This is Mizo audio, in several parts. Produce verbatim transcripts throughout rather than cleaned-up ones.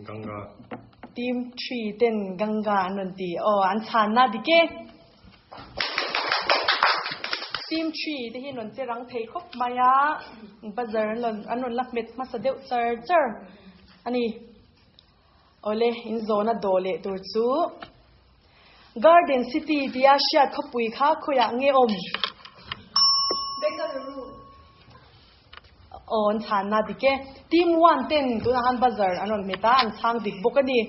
Ganga. Team three ten Ganga an rawn ti. Aw, an chhanna dik e. Team three te hi an rawn che rang thei khawp mai a, buzzer an rawn an rawn la hmet hmasa deuh char char a ni. Awle, in zawna dawh leh tur chu Garden City tia hriat khawpui kha khawiah nge awm? Bengaluru. Aw, an chhanna dik e. Team one ten tunah khan buzzer an rawn hmet a, an chhang dik bawk a ni.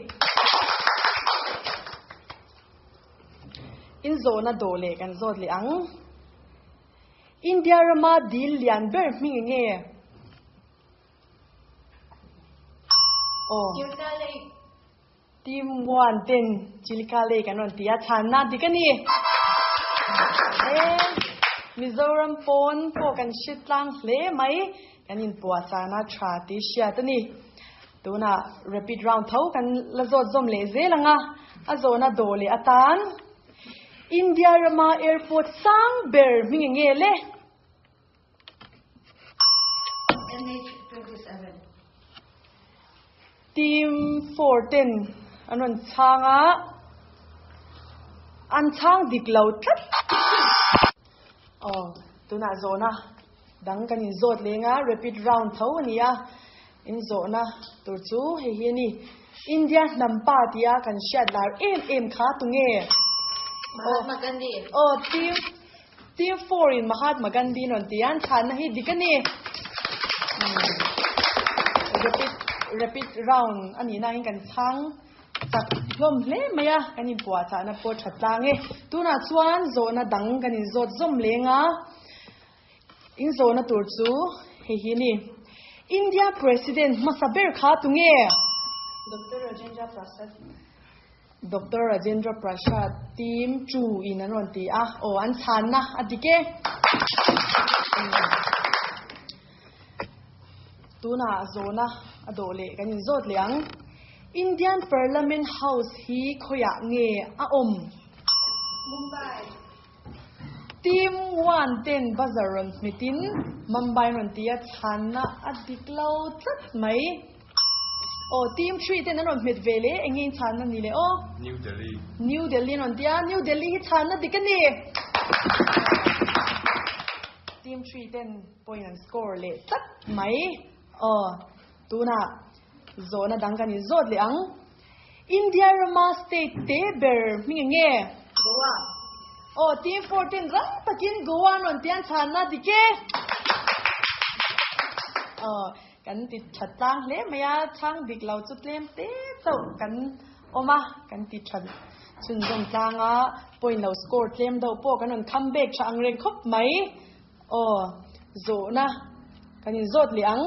In zawhna dawh leh kan zawt leh ang. India rama dil lian ber hming eng nge? Aw. Chilka Lake. Team one ten Chilka Lake an rawn ti a, chhanna dik a ni. E, Mizoram pawn pawh kan hre tlang hle mai, kan inpuahchahna tha tih hriat a ni. Tunah rapid round tho kan la zawt zawm leh zel ang a, a zawhna dawh leh atan India rama airport sang ber hming eng nge le? N H twenty seven. Team four ten an rawn chhang a, an chhang dik lo tlat. Aw, tunah zawhna dang kan inzawt leng a, rapid round tho a ni a, inzawhna tur chu hei hi a ni. India hnam pa tia kan hriat lar em em kha tunge? Mahatma Gandhi. Aw, team team four in Mahatma Gandhi an rawn ti a, an chhanna hi dik a ni. Rapid rapid round a nih nain kan chhang chak hlawm hle mai a, kan inpuahchahna pawh tha tlang e. Tunah chuan zawhna dang kan inzawt zawm leng a, inzawhna tur chu hei hi a ni. India President hmasa ber kha tunge? Doctor Rajendra Prasad. Doctor Rajendra Prasad team two in an rawn ti a, aw an chhanna a dik e. Tunah zawhna a dawh leh kan inzawt leh ang. Indian Parliament House hi khawiah nge a awm? Mumbai. Team one ten buzzer rawn hmetin Mumbai rawn ti a, chhanna a dik lo tlat mai. Aw, team three ten an rawn hmet ve le, eng nge in chhanna ni le aw? New Delhi. New Delhi an rawn ti a, New Delhi hi chhanna dik a ni. Team three ten point an score leh tlat mai. Aw, tunah zawhna dang kan inzawt leh ang. India rama state te ber hming eng nge? Goa. Aw, team four ten rang takin Goa an rawn ti a, an chhanna dik e. Aw, kan ti tha tlang hle mai a, chhang dik lo chu tlem te chauh kan awm a, kan ti tha chhunzawm tlang a, point lo score tlem deuh pawh kan rawn come back tha ang reng khawp mai. Aw, zawhna kan inzawt leh ang.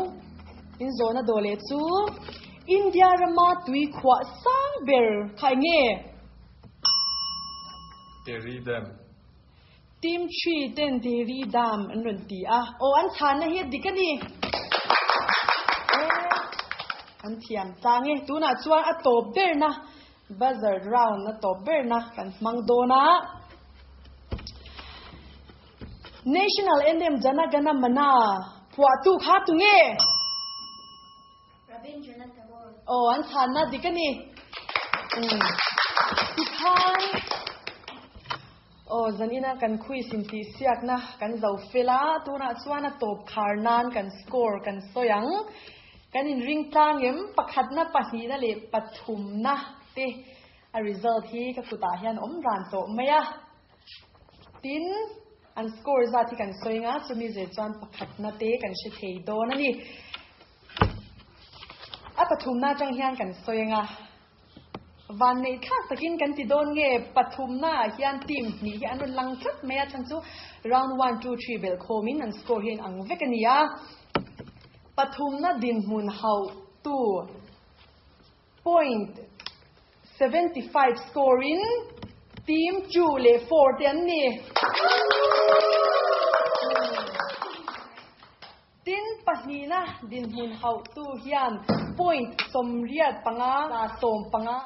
Inzawhna dawh leh chu India rama tui khuah sang ber kha eng nge? Tehri Dam. Team three ten Tehri Dam an rawn ti a. Aw, an chhanna hi a dik a ni. E, an thiam tlang e. Tunah chuan a tawp berna, buzzer round a tawp berna kan hmang dawn a. National Anthem Jana Gana Mana phuahtu kha tunge? Rabindranath Tagore. Aw, an chhanna dik a ni. Umm. Tikhan, aw, zanina kan quiz intih siakna kan zo fel a, tunah chuan a tawp khar nan kan score kan sawi ang. Kan inring tlang em, pakhatna, pahnihna leh pathumna te a result hi ka kutah hian awm ran tawh mai a. Tin, an score zat hi kan sawi nga, chumi zir chuan pakhatna te kan hre thei dawn a ni. A pathumna atang hian kan sawi anga, van neih thlak takin kan ti dawn nge, pathumna ah hian team hnih hi an rawn lang tlat mai a, chhan chu round one, two, three belh khawmin an score hi a inang vek a ni a. Pathumna dinhmun hauh tu point seventy five score in team two leh four te an ni. Tin, pahnihna dinhmun hauhtu hian point sawmriat panga, sawm panga.